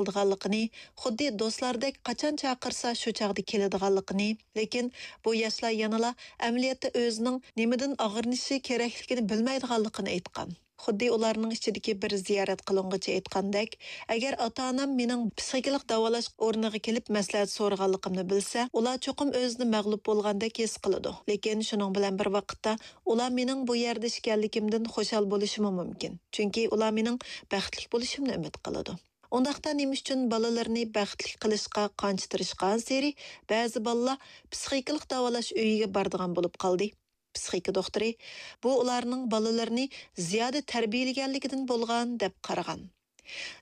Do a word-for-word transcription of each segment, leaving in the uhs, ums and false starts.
قىلىدىغانلىقىنى، خۇددى دوستلاردەك قاچان چاقىرسا شۇ چاغدا كېلىدىغانلىقىنى، لېكىن بۇ ياشلار يەنىلا ئەمەلىيەتتە ئۆزىنىڭ نېمىدىن ئاغرىنىشى كېرەكلىكىنى بىلمەيدىغانلىقىنى ئېيتقان. خۇددى ئۇلارنىڭ ئىچىدىكى بىر زىيارەت قىلىنغۇچى ئېيتقاندەك، ئەگەر ئاتا-ئانام مېنىڭ پسىخىكىلىق داۋالاش ئورنىغا كېلىپ مەسلىھەت سورىغانلىقىمنى بىلسە، ئۇلار چوقۇم ئۆزىنى مەغلۇپ بولغاندەك ھېس قىلىدۇ. لېكىن شۇنىڭ بىلەن بىر ۋاقىتتا، ئۇلار مېنىڭ بۇ يەردە ئىكەنلىكىمدىن خۇشال بولۇشىمۇ مۇمكىن. چۈنكى ئۇلار مېنىڭ بەختلىك بولۇشۇمنى ئۈمىد قىلىدۇ. ئۇنداقتا نېمە ئۈچۈن بالىلىرىنى بەختلىك قىلىشقا قانچە تىرىشقانسېرى، بەزى بالىلار پسىخىكىلىق داۋالاش ئۆيىگە بارىدىغان بولۇپ قالدى؟ پسىخىكا دوختۇرى بۇ ئۇلارنىڭ بالىلىرىنى زىيادە تەربىيەلىگەنلىكىدىن بولغان دەپ قارىغان.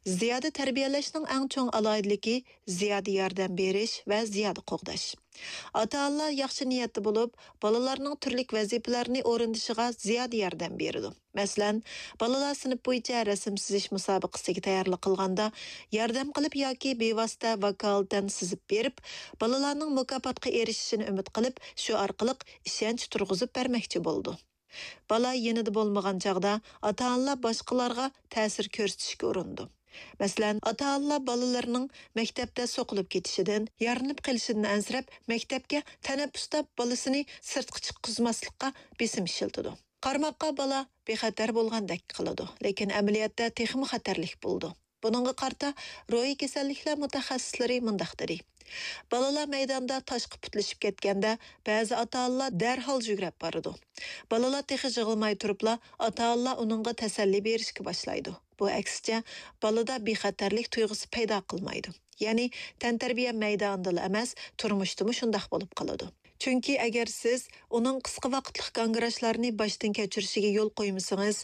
زىيادە تەربىيەلەشنىڭ ئەڭ چوڭ ئالاھىدىلىكى زىيادە ياردەم بېرىش ۋە زىيادە قوغداش. ئاتا-ئانىلار ياخشى نىيەتتە بولۇپ، بالىلارنىڭ تۈرلۈك ۋەزىپىلەرنى ئورۇندىشىغا زىيادە ياردەم بېرىدۇ. مەسىلەن، بالىلار سىنىپ بويىچە رەسىم سىزىش مۇسابىقىسىگە تەييارلىق قىلغاندا، ياردەم قىلىپ ياكى بىۋاسىتە ۋاكالىتەن سىزىپ بېرىپ، بالىلارنىڭ مۇكاپاتقا ئېرىشىشىنى ئۈمىد قىلىپ، شۇ ئارقىلىق ئىشەنچ تۇرغۇزۇپ بەرمەكچى بولىدۇ. بالا يېنىدا بولمىغان چاغدا ئاتا-ئانىلار باشقىلارغا تەسىر كۆرسىتىشكە ئۇرۇنىدۇ. مەسىلەن، ئاتا-ئانىلار بالىلىرىنىڭ مەكتەپتە سوقۇلۇپ كېتىشىدىن، يارىلىنىپ قېلىشىدىن ئەنسىرەپ، مەكتەپكە تەنەپپۇستا بالىسىنى سىرتقا چىققۇزماسلىققا بېسىم ئىشلىتىدۇ. قارىماققا بالا بىخەتەر بولغاندەك قىلىدۇ، لېكىن ئەمەلىيەتتە تېخىمۇ خەتەرلىك بولىدۇ. بۇنىڭغا قارىتا، روھىي كېسەللىكلەر مۇتەخەسسىسلىرى مۇنداق دېدى: بالىلار مەيداندا تاشقا پۇتلىشىپ كەتكەندە، بەزى ئاتا-ئانىلار دەرھال يۈگرەپ بارىدۇ. بالىلار تېخى يىغلىماي تۇرۇپلا، ئاتا-ئانىلار ئۇنىڭغا تەسەللى بېرىشكە باشلايدۇ. بۇ، ئەكسىچە، بالىدا بىخەتەرلىك تۇيغۇسى پەيدا قىلمايدۇ. يەنى، تەنتەربىيە مەيدانىدىلا ئەمەس، تۇرمۇشتىمۇ شۇنداق بولۇپ قالىدۇ. چۈنكى ئەگەر سىز ئۇنىڭ قىسقا ۋاقىتلىق گاڭگىراشلارنى باشتىن كەچۈرۈشىگە يول قويمىسىڭىز،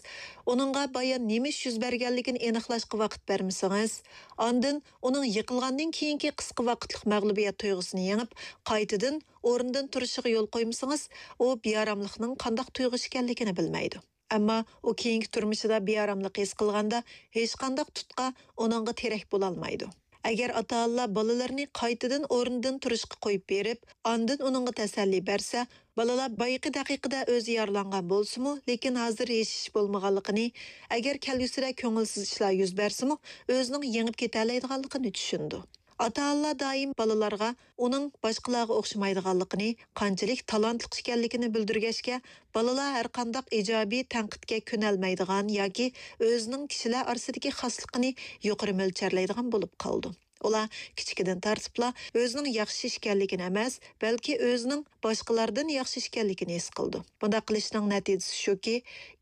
ئۇنىڭغا بايان نېمە ئىش يۈز بەرگەنلىكىنى ئېنىقلاشقا ۋاقىت بەرمىسىڭىز، ئاندىن ئۇنىڭ يىقىلغاندىن كېيىنكى قىسقا ۋاقىتلىق مەغلۇبىيەت تۇيغۇسىنى يېڭىپ، قايتىدىن ئورنىدىن تۇرۇشىغا يول قويمىسىڭىز، ئۇ بىئاراملىقنىڭ قانداق تۇيغۇ ئىكەنلىكىنى بىلمەيدۇ. ئەمما ئۇ كېيىنكى تۇرمۇشىدا بىئاراملىق ھېس قىلغاندا، ھېچقانداق تۇتقا ئۇنىڭغا تىرەك بولالمايدۇ. ئەگەر ئاتا-ئانىلار بالىلىرىنى قايتىدىن ئورنىدىن تۇرۇشقا قويۇپ بېرىپ، ئاندىن ئۇنىڭغا تەسەللى بەرسە، بالىلار بايىقى دەقىقىدە ئۆزى يارىلانغان بولسىمۇ، لېكىن ھازىر ھېچ ئىش بولمىغانلىقىنى، ئەگەر كەلگۈسىدە كۆڭۈلسىز ئىشلار يۈز بەرسىمۇ، ئۆزىنىڭ يېڭىپ كېتەلەيدىغانلىقىنى چۈشىنىدۇ. ئاتا-ئانىلار دائىم بالىلارغا ئۇنىڭ باشقىلارغا ئوخشىمايدىغانلىقىنى، قانچىلىك تالانتلىق ئىكەنلىكىنى بىلدۈرگەچكە، بالىلار ھەرقانداق ئىجابىي تەنقىدكە كۆنەلمەيدىغان ياكى ئۆزىنىڭ كىشىلەر ئارىسىدىكى خاسلىقىنى يۇقىرى مۆلچەرلەيدىغان بولۇپ قالىدۇ. ئۇلار كىچىكىدىن تارتىپلا ئۆزىنىڭ ياخشى ئىكەنلىكىنى ئەمەس، بەلكى ئۆزىنىڭ باشقىلاردىن ياخشى ئىكەنلىكىنى ھېس قىلىدۇ. بۇنداق قىلىشنىڭ نەتىجىسى شۇكى،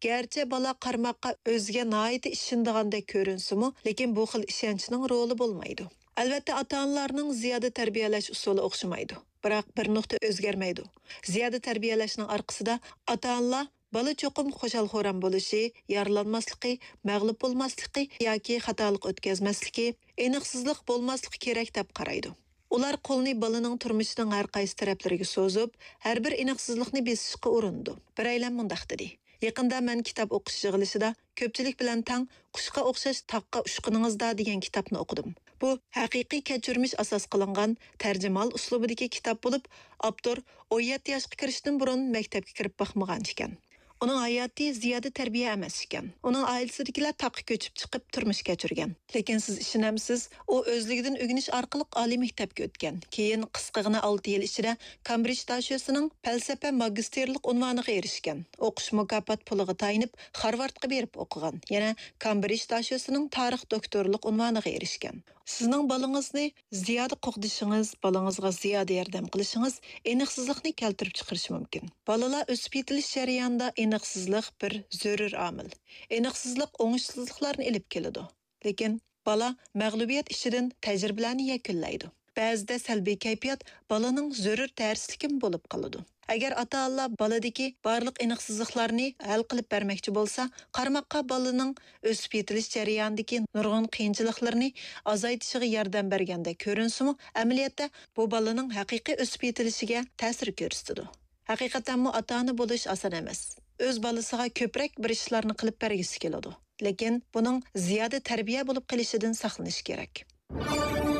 گەرچە بالا قارىماققا ئۆزىگە ناھايىتى ئىشىنىدىغاندەك كۆرۈنسىمۇ، لېكىن بۇ خىل ئىشەنچنىڭ رولى بولمايدۇ. ئەلۋەتتە، ئاتا-ئانىلارنىڭ زىيادە تەربىيەلەش ئۇسۇلى ئوخشىمايدۇ، بىراق بىر نۇقتا ئۆزگەرمەيدۇ. زىيادە تەربىيەلەشنىڭ ئارقىسىدا ئاتا-ئانىلار بالا چوقۇم خۇشال-خۇرام بولۇشى، يارىلانماسلىقى، مەغلۇپ بولماسلىقى ياكى خاتالىق ئۆتكەزمەسلىكى، ئېنىقسىزلىق بولماسلىقى كېرەك دەپ قارايدۇ. ئۇلار قولنى بالىنىڭ تۇرمۇشىنىڭ ھەر قايسى تەرەپلىرىگە سوزۇپ، ھەر بىر ئېنىقسىزلىقنى بېسىشقا ئۇرۇنىدۇ. بىرەيلەن مۇنداق دېدى: يېقىندا مەن كىتاب ئوقۇش يىغىلىشىدا كۆپچىلىك بىلەن تەڭ «قۇشقا ئوخشاش تاغقا ئۇچقىنىڭىزدا» دېگەن كىتابنى ئوقۇدۇم. بۇ ھەقىقىي كەچۈرمىش ئاساس قىلىنغان تەرجىمىھال ئۇسلۇبىدىكى كىتاب بولۇپ، ئاپتور ئون يەتتە ياشقا كىرىشتىن بۇرۇن مەكتەپكە كىرىپ باقمىغان ئىكەن. ئۇنىڭ ھاياتى زىيادە تەربىيە ئەمەس ئىكەن. ئۇنىڭ ئائىلىسىدىكىلەر تاغقا كۆچۈپ چىقىپ تۇرمۇش كەچۈرگەن. لېكىن سىز ئىشىنەمسىز، ئۇ ئۆزلۈكىدىن ئۆگىنىش ئارقىلىق ئالىي مەكتەپكە ئۆتكەن. كېيىن قىسقىغىنە ئالتە يىل ئىچىدە كامبرىج داشۆسىنىڭ پەلسەپە ماگىستىرلىق ئۇنۋانىغا ئېرىشكەن. ئوقۇش مۇكاپات پۇلىغا تايىنىپ، خارۋاردقا بېرىپ ئوقۇغان. يەنە كامبرىج داشۆسىنىڭ تارىخ دوكتورلۇق ئۇنۋانىغا ئېرىشكەن. سىزنىڭ بالىڭىزنى زىيادە قوغدىشىڭىز، بالىڭىزغا زىيادە ياردەم قىلىشىڭىز ئېنىقسىزلىقنى كەلتۈرۈپ چىقىرىشى مۇمكىن. بالىلار ئۆسۈپ يېتىلىش جەريانىدا ئېنىقسىزلىق بىر زۆرۈر ئامىل. ئېنىقسىزلىق ئوڭۇشسىزلىقلارنى ئېلىپ كېلىدۇ. لېكىن بالا مەغلۇبىيەت ئىچىدىن تەجرىبىلەرنى يەكۈنلەيدۇ. بەزىدە سەلبىي كەيپىيات بالىنىڭ زۆرۈر دەرسلىكىمۇ بولۇپ قالىدۇ. ئەگەر ئاتا-ئانىلار بالىدىكى بارلىق ئېنىقسىزلىقلارنى ھەل قىلىپ بەرمەكچى بولسا، قارىماققا بالىنىڭ ئۆسۈپ يېتىلىش جەريانىدىكى نۇرغۇن قىيىنچىلىقلىرىنى ئازايتىشىغا ياردەم بەرگەندەك كۆرۈنسىمۇ، ئەمەلىيەتتە بۇ بالىنىڭ ھەقىقىي ئۆسۈپ يېتىلىشىگە تەسىر كۆرسىتىدۇ. ھەقىقەتەنمۇ ئاتا-ئانا بولۇش ئاسان ئەمەس. ئۆز بالىسىغا كۆپرەك بىر ئىشلارنى قىلىپ بەرگۈسى كېلىدۇ. لېكىن بۇنىڭ زىيادە تەربىيە بولۇپ قېلىشىدىن ساقلىنىش كېرەك.